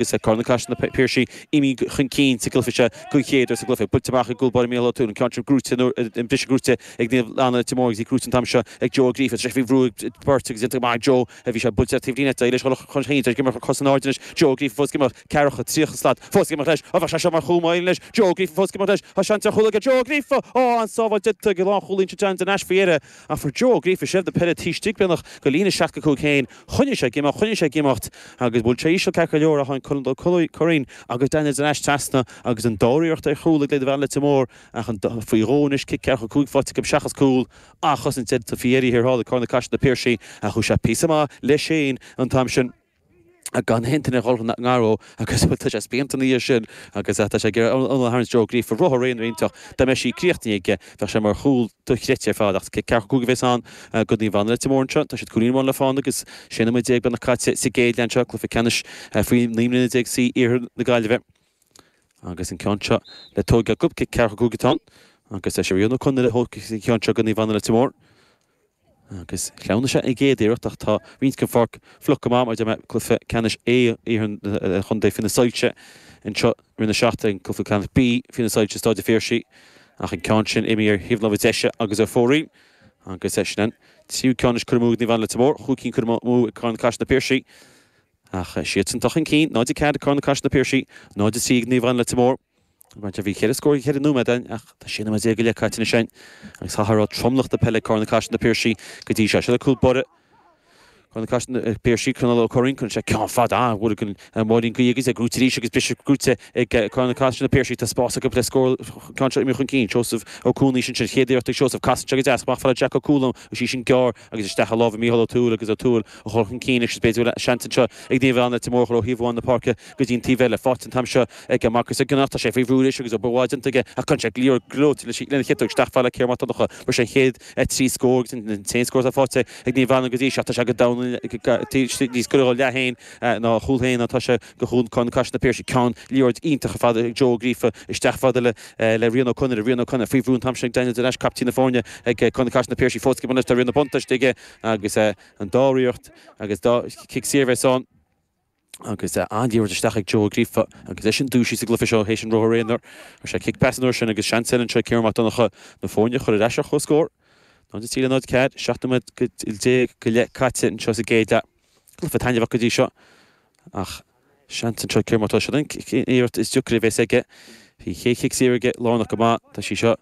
Agus Carn na Caiseal na Piarsaigh imithe chun cinn sa gcluiche seo den chéad uair sa gcluiche. Buailte amach ag gcúl báire Mícheál Ó Tuathail, an ceann sin gnóite, an briseadh gnóite ag Naomh Anna Leitir Móir agus í gnóite an t-am seo ag Joe Ó Gríofa. Tá sé faoi bhrú ag beirt agus déanta go maith ag Joe. Bhí sé buailte ar taobh líne, d'éirigh leis dhul chun cinn. Tá sé ag imeacht cos in airde anois. Joe Ó Gríofa fós ag imeacht. Ceathracha, 30 slat. Fós ag imeacht leis. Ó bheadh sé seo mar chúl má éiríonn leis. Joe Ó Gríofa fós ag imeacht leis. Tá seans ar chúl aige Joe Ó Gríofa! Ó, an-sábháil déanta ag an lánchúlaí ansin John Nash faoi dheireadh. Ach fuair Joe Ó Gríofa seilbh na peile taobh istigh beagnach de líne 65 féin. Choinnigh sé ag imeacht, choinnigh sé ag imeacht agus bhuail sé íseal ceart go leor ach tháinig Colin Ó Curraoin agus Daniels ar ais trasna agus an dara iarracht ar chúl ag Naomh Anna Leitir Móir ach an faoi dhó anois cic ceathracha 5 faighte acu seachas cúl an-chosaint déanta faoi dheireadh thiar thall ag Corn na Caiseal na Piarsaigh ach chuaigh sé píosa maith leis féin an t-am sin. gan aon duine a dhul i ngar dó agus tá sé spíonta ina dhiaidh sin agus tá sé ag iarraidh an a tharraingt Joe Ó Gríofa rothar aonair iontach dá mbeadh sí críochnaithe aige bheadh sé mar chúl dochreidte ar fad ach cic ceathracha 5 a bheas ann do Naomh Anna Leitir Móir anseo. Tá siad cúilín amháin le fáil agus 16 nóiméad beagnach caite sa gcéad leath anseo, cluiche ceannais faoi 19 mbliana C Iarthar na Gaillimhe agus an ceann seo le tógáil acu, cic ceathracha 5 atá ann agus tá sé Rian Ó Conaire a thógfaidh an ceann seo do Naomh Anna Leitir Móir. Agus shleamhnaigh sé an gcéad iarracht ach tá roinnt den pháirc fliuch go maith mar a deir mé, cluiche ceannais A iarthar an chontae faoi na soilse anseo roimh na seachtaine, cluiche ceannais B faoi na soilse i Stáid an Phiarsaigh ach an ceann sin imithe ar thaobh na láimhe deise agus ar fóraoil agus sin an tríú ceann anois curtha amú ag Naomh Anna Leitir Móir, chúig cinn curtha amú ag Carn na Caiseal Na Piarsaigh ach siadsan atá chun cinn, 0-4 ag Carn na Caiseal Na Piarsaigh, 0-3 ag Naomh Anna Leitir Móir. Bhí cheithre scór ag cheithre nóiméad againn ach tá 16 nóiméad go leith caite anois againn agus chaithfear a rá tromlach na peile ag Carn na Caiseal Na Piarsaigh go dtí seo. Seo le cúl báire Carn na Caiseal Na Piarsaigh, Conall Ó Curraoin, cuireann sé ceann fada an-mhór ag an Máirín Gaoith agus é gnóite arís agus briseadh gnóite ag Carn na Caiseal Na Piarsaigh. Tá spás acu le scór ceann seo imithe chun cinn. Seosamh Ó Cúnaois ansin, chéad iarracht ag Seosamh, casann sé go deas amach fad le Jack Ó Cualáin agus í sin gearr agus isteach i lámha Mícheál Ó Tuathail agus Ó Tuathail a chur chun cinn agus b'fhéidir go bhfuil seans anseo ag Naomh Anna Leitir Móir a chur ó thaobh amháin na páirce go dtí an taobh eile. Faighte an t-am seo ag Marcus Ó Gionnaith. Tá sé faoi bhrú anois agus obair mhaith déanta aige ach cuireann sé liathróid gleoite lena chiotóg isteach fad le Ciarán Mac Donncha. Fuair sé an chéad 3 scór agus an t-aon scór atá faighte ag Naomh Anna go dtí seo. Tá sé go domhain níos gaire dá leath féin ná a chúl féin ná tá sé do chúl Corn na Caiseal Na Piarsaigh. Ceann liathróid iontach ar fad ag Joe Ó Gríofa isteach fad le le Rian Ó Conaire. Rian Ó Conaire faoi bhrú an t-am sin ag Daniel Nash, captaen na foirne ag Corn na Caiseal Na Piarsaigh. Fós ag imirt tá Rian na buntáiste aige agus an dá iarracht agus dá chic saor a bheas ann. Agus an-liathróid isteach ag Joe Ó Gríofa agus eisean dúisithe sa gcluiche seo théis an ruathar aonair. Fuair sé cic pas an uair sin agus seans eile anseo ag Ciarán Mac Donncha na foirne a chur ar ais ar comhscór. 0-3 le 0-4, 17 nóiméad go leith caite anseo sa gcéad leath. Cluiche taitneamhach go dtí seo ach seans anseo ag Ciarán Mac Donncha. Seo an iarracht is deacra a bheas aige. Bhí an chéad chic saor aige lárnach go maith. Tá sí seo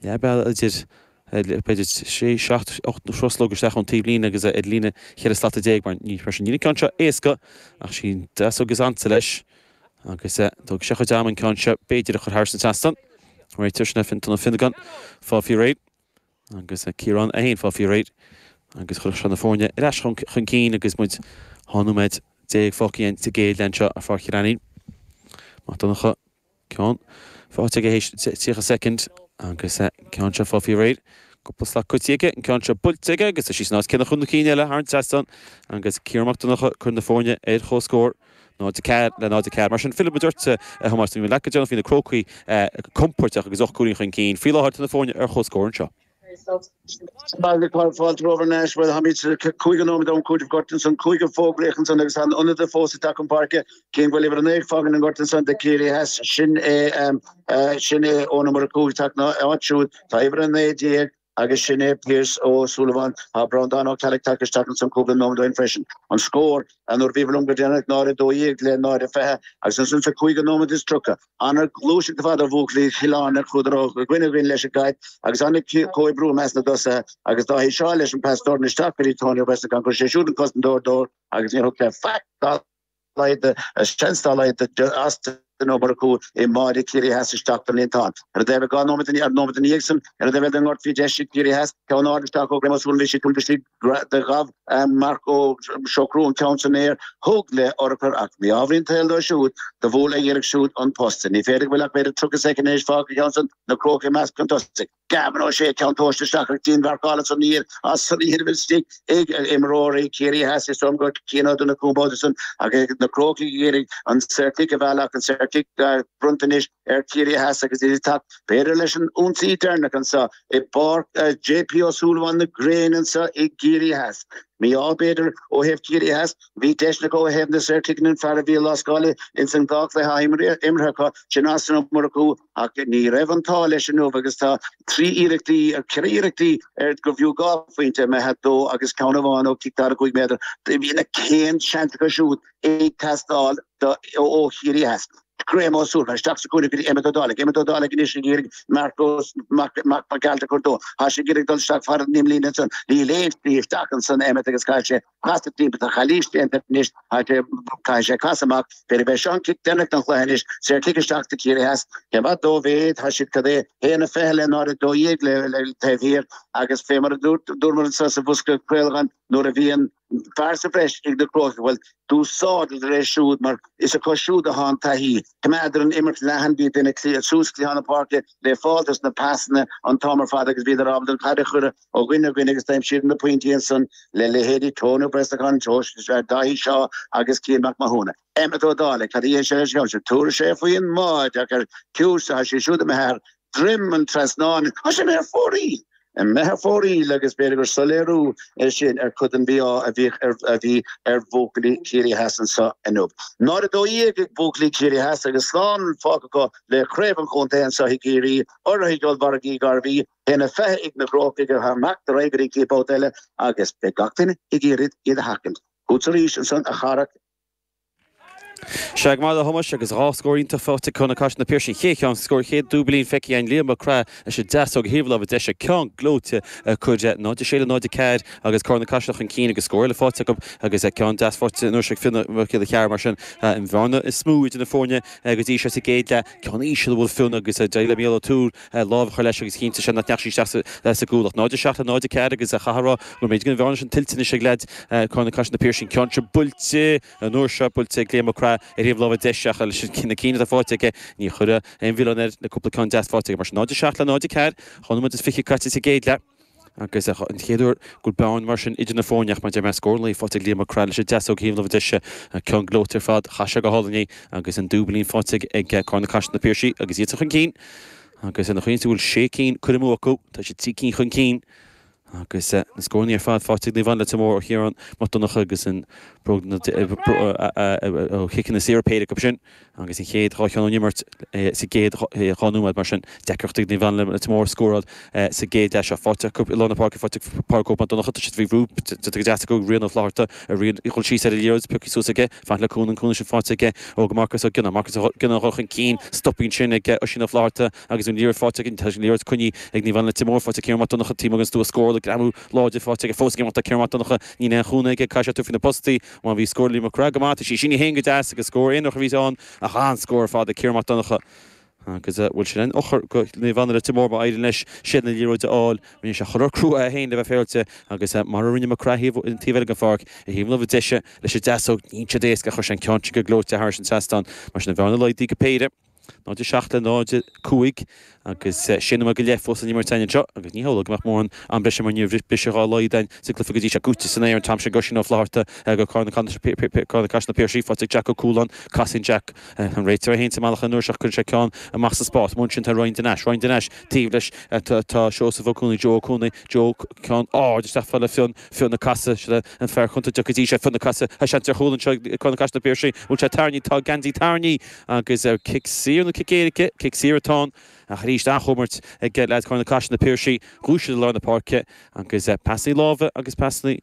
leath bealaigh idir b'fhéidir sé, seacht, 8 thruslóg isteach ón taobhlíne agus ar líne cheithre slata déag mar ní mar sin níl an ceann seo éasca ach sí an deasóg is ansa leis agus tógfaidh sé a chuid ama an ceann seo b'fhéidir a chur thar an trasnán. Réiteoir sin é Fiontan Ó Fionnagáin fáil faoi réir agus Ciarán é féin fáil faoi réir agus chuirfeadh sé na foirne ar ais chun cinn agus muid 12 nóiméad fágtha againn sa gcéad leath anseo ar Pháirc Chill Ainnín. Mac Donncha. Ceann faighte aige théis 30 soicind agus ceann seo fágtha faoi réir. Cúpla slat caite aige, an ceann seo buailte aige agus tá sí san áit céanna chun na cinn eile thar an trasnán agus Ciarán Mac Donncha ag cur na foirne ar chomhscór. 0-4 le 0-4. Mar sin, fillfidh muid ort, a Thomáis, bhí muid leat go deireanach, bhí na Crócaigh compordach agus 8 gcúilín chun cinn. Faoi láthair tá na foirne ar chomhscór anseo. Baile Fáilte romhaibh thar n-ais. Bhuel, táimid cúig nóiméad ón cúitimh goirt ansan, cúigear fógraíoch ansan agus tá an ionadaí fós ag teacht chun páirce. Cén go bhfuil uimhir 9 ag fágaint an ghort ansan do Ciarraí Theas, sin é sin é Eoin Ó Murchú ag teacht ina áit siúd. Tá uimhir 19 agus sin é Pearse Ó Súilleabháin. Tá Breandán Ó Ceallaigh tagtha isteach ansan cúpla nóiméad ó shin freisin. An scór, nuair a bhíobhair liom go deireanach, 0-12 le 0-20 agus ansan sa cúig nóiméad is 30. Ana-ghluaiseacht ar fad ó bhuachaillí Chill Airne, chuadar ó dhuine go dhuine leis an gcaid agus an-chomhoibriú i measc na dtosaithe agus Dáithí Shaw leis an pas dorn isteach go dtí Tony Ó Brosnacháin. Chuir sé siúd an cosantóir dó agus níor thug sé faic dá laghad, seans dá laghad d'Austin Ó Murchú i mbáide Chiarraí Theas isteach don líontán. Ar an dtaobh 2 nóiméad ar nóiméad ina dhiaidh san, ar an dtaobh eile den ngort bhí deis ag Ciarraí Theas ceann ard isteach ó Graham Ó Súilleabháin bhí sé tugtha istigh Do ghabh Marc Ó Siochrú an ceann san aer, thug le urchar ach mí-ádh an tsaoil dó siúd, do bhuail a iarracht siúd an posta. Ní féidir go bhfuil ach b'fhéidir 30 soicind anois fágtha an ceann san, na Crócaigh i measc chun tosaigh. Gavin Ó Sé ceann tomhaiste isteach ach dianmharcáil ansan ní as san iarraidh istigh ag imreoirí Chiarraí Theas is dóigh gur Cian Ó Donnchú an babhta san ach na Crócaigh ag iarraidh an saorchic a mhealladh ach an saorchic. Saorchic bronnta anois ar Chiarraí Theas agus iad ag teacht, b'fhéidir, leis an ionsaí deireanach anseo i bPáirc JP Ó Súilleabháin na gréine anseo i gCiarraí Theas. Mí-ádh, b'fhéidir, ó thaobh Chiarraí Theas. Bhí deiseanna acu ó thaobh na saorchiceanna, an fear a bhí i lascáil ins an dá chluiche atá imeartha acu, sin Austin Ó Murchú, ach ní raibh an t-ádh leis inniu agus tá trí iarrachtaí, ceithre iarrachtaí ar gurbh fhiú 2 phointe imithe dó agus ceann amháin ó chic 45 méadar. Bhí na cén seans acu siúd ag teastáil ó Chiarraí Theas. Graham Ó Súilleabháin isteach sa chúinne go dtí Emmet Ó Dálaigh. Emmet Ó Dálaigh anois ag iarraidh Marcos Mac Mac Gearailt a chur dó. Tá sé ag iarraidh dul isteach fara an imlíne ansan. Níl aon tslí isteach ansan Emmet agus caithfidh sé casadh timpeall. Tá calaois déanta anois. Caithfidh sé casadh amach. B'fhéidir b'é seo an cic deireanach den chluiche anois. Saorchic isteach do Chiarraí Theas. Cé mhaith dóibh é? Tá siad cad é 1-20 le 0-12 le taobh thiar agus fé mar a dúramar anso sa bhosca craolacháin nuair a bhíonn fear sa bhreis ag na Crócaigh, bhuel, d'úsáideadar é siúd mar is acu siúd atá an taithí. Choimeádar an imirt leathan, bhí duine suas cliathán na páirce le fáil dos na pasanna an t-am ar fad agus bhíodar ábalta an chaid a chur ó dhuine go dhuine agus d'aimsíodar na pointí ansan le leithéidí Tony Ó Brosnacháin, Dáithí Shaw agus Cian Mac Mathúna. Emmet Ó Dálaigh, cad a dhéanfaidh sé leis an gceann seo? Tabharfaidh sé faoin mbáide ach ar ciús tá sé siúd imithe thar droim an trasnáin. Tá sé imithe ar fóraoil! Imithe ar fóraoil agus b'fhéidir gur soiléiriú é sin ar chuid den mhí-ádh a bhíodh ar a bhí ar bhuachaillí Chiarraí Theas anseo inniu. 0-12 ag buachaillí Chiarraí Theas agus slán fágtha acu le craobh an chontae anseo i gCiarraí, urraithe ag Ollmhargaí Garvey, 1-20 ag na Crócaigh atá ag imeacht ar aghaidh go dtí an chéad babhta eile agus beidh gach duine ag iarraidh iad a sheachaint. Chugatsa arís ansan a Charach. Sea, go maith a Thomáis, agus dhá scór iontach faighte ag Corn na Caiseal na Piarsaigh. An chéad cheann, scór chéad dúbailín feicthe againn, Liam Mac Craith leis an deasóg ar thaobh na láimhe deise, ceann gleoite ag cur 0-6 le 0-4 agus Corn na Caiseal chun cinn agus scór eile faighte acu agus ceann deas faighte anois ag Fionn Mac Giolla Chearra mar sin an bhearna is mó idir na foirne go dtí seo sa gcéad leath. Ceann íseal a bhuail Fionn agus d'éirigh le Mícheál O'Toole lámh a chur leis agus chinntigh sé nach ndeachaigh sí isteach sa gcúl ach 0-7 le 0-4 agus chaithfeá a rá go mb'fhéidir go an bhearna sin tuillte anois ag leaids Corn na Caiseal na Piarsaigh. An ceann seo buailte an uair seo, buailte ag Liam Mac Craith ar thaobh láimhe deise ach leis na cinn atá faighte aige ní chuirfeá aon mhilleán air na cúpla ceann deas faighte aige. Mar sin 0-7 le 0-4, 2 nóiméad is 20 caite sa gcéad leath agus an chéad uair go bhfuil bearna mar sin idir na foirne ach mar a deir mé scór an lae faighte ag Liam Mac Craith leis an deasóg ar thaobh na láimhe deise, ceann gleoite ar fad, chaith sé go hálainn é agus an dúbailín faighte ag Corn na Caiseal na Piarsaigh agus iadsan chun cinn agus ina chaoi is go bhfuil sé cinn curtha amú acu, tá siad trí cinn chun cinn. Agus na scóranna ar fad faighte ag Naomh Anna Leitir Móir ó Chiarán Mac Donncha agus an bróg ó chiceanna saora péire acu sin agus an chéad dhá cheann ón imirt sa gcéad dhá nóiméad mar sin. Deacracht ag Naomh Anna Leitir Móir scóráil sa gcéad leath seo. Faighte acu i lár na páirce, faighte ag Pádraig Óg Mac Donncha, tá siad faoi bhrú, déanta go deas acu ag Rian Ó Flatharta, Rian ag dul síos ar an liathróid, pioctha suas aige, faighte le cúnamh, an cúnamh sin faighte aige ó go Marcas Ó Gionnáin. Marcas Ó Gionnáin ag dul chun cinn, stoptha ansin ag Oisín Ó Flatharta. Agus an liathróid faighte ag, tá an liathróid coinnithe ag Naomh Anna Leitir Móir, faighte ag Ciarán Mac Donncha, taobh amuigh den stua scórála, greamú láidir faighte aige fós ag imeacht tá Ciarán Mac Donncha, níl aon chúnamh aige, caithfidh sé tabhairt faoi na postaí, má bhí scór Liam Mac Craith go maith, tá sí sínithe féin go deas agus scór aonarach a bhí ann ach an-scór ar fad ag Ciarán Mac Donncha. Agus bhfuil sin an eochair go Naomh Anna Leitir Móir má éiríonn leis seilbh na liathróide a fháil, rinne sé chur crua é féin le bheith féaráilte agus mar a rinne Mac Craith an taobh eile den pháirc, ar thaobh na láimhe deise leis an deasóg, níl siad éasca, chuir sé an ceann sin go gleoite thairis an trasnán, mar sin an bhearna laghdaithe go péire. 0 7 le 0 5 agus sé nóiméad go leith fós san imirt againn anseo agus ní hamhlaidh go mbeadh mórán am breise mar ní raibh briseadh dá laghad againn sa gcluiche go dtí seo. Buailte san aer an t-am sin ag Oisín Ó Flatharta go Corn na Caiseal na Piarsaigh faighte ag Jack Ó Cualáin. Casann Jack an réiteoir é féin sa mbealach an uair seo cuireann sé ceann amach sa spás. Amuigh ansin tá Ryan Denash. Ryan Denash taobh leis tá Seosamh Ó Cuanaigh, Joe Ó Cuanaigh, Joe ceann ard isteach fad le Fionn. Fionn ag casadh, seo an fear contae go dtí seo, Fionn ag casadh, tá seans ar chúl anseo ag Corn na Caiseal na Piarsaigh. Bhfuil sé tarraingthe? Tá geansaí tarraingthe agus ar cic saor nó cic éirice? Cic saor atá ann ach arís an-chomhimirt ag leaids Chorn na Caiseal na Piarsaigh. Dhúisigh siad i lár na páirce agus pasanna láimhe agus pasanna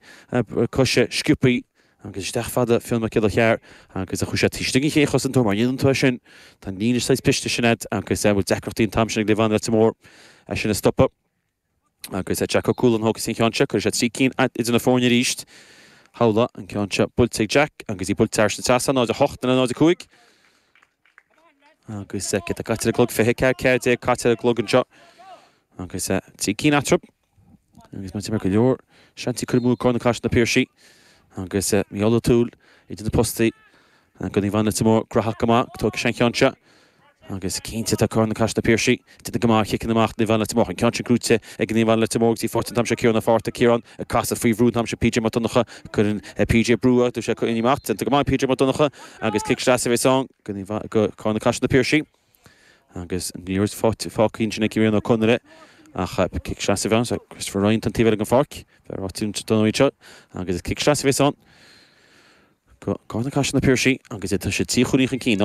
coise sciobthaí agus isteach fad le Fionn Mac Giolla Chearr agus a chuaigh sé taobh istigh den chéad chosantóir mar dhéanann tú é sin. Tá an líne saghas briste sin agat agus bhfuil deacrachtaí an t-am sin ag Naomh Anna Leitir Móir é sin a stopadh. Agus Jack Ó Cualáin a thógfas an ceann seo, cuirfidh sé trí cinn idir na foirne arís. Shamhlaigh an ceann seo buailte ag Jack agus í buailte thairis an trasnán, 0-8 le 0-5. Agus céard atá caite ar an gclog, 24, 14 caite ar an gclog anseo. Agus trí cinn eatarthu. Agus mar go leor seansanna curtha amú ag Corn na Caiseal na Piarsaigh. Agus Mícheál Ó Tuathail idir na postaí. Go Naomh Anna Leitir Móir graitheach go maith, tógfaidh sé an ceann seo. Agus cinnte tá Carna Caiseal Na Piarsaigh ag déanamh go maith ar chiceanna amach Naomh Anna Leitir Móir. An ceann sin gnóite ag Naomh Anna Leitir Móir agus í faighte an t-am seo Ciarán Ó Fátharta. Ciarán ag casadh faoi bhrú an t-am seo PJ Mac Donncha. Cuireann PJ brú air tá sé imithe amach. Déanta go maith ag PJ Mac Donncha agus cic sleasa a bheas ann go Carna Caiseal Na Piarsaigh. Agus an liathróid fágtha ansin ag Ciarán Ó Conaire ach cic sleasa a bheas ann. Christopher Ryan an taobh eile den pháirc. Fear áitiúil don áit seo agus cic sleasa a bheas ann. Go Carna Caiseal Na Piarsaigh agus tá siad 3 chúilín chun cinn.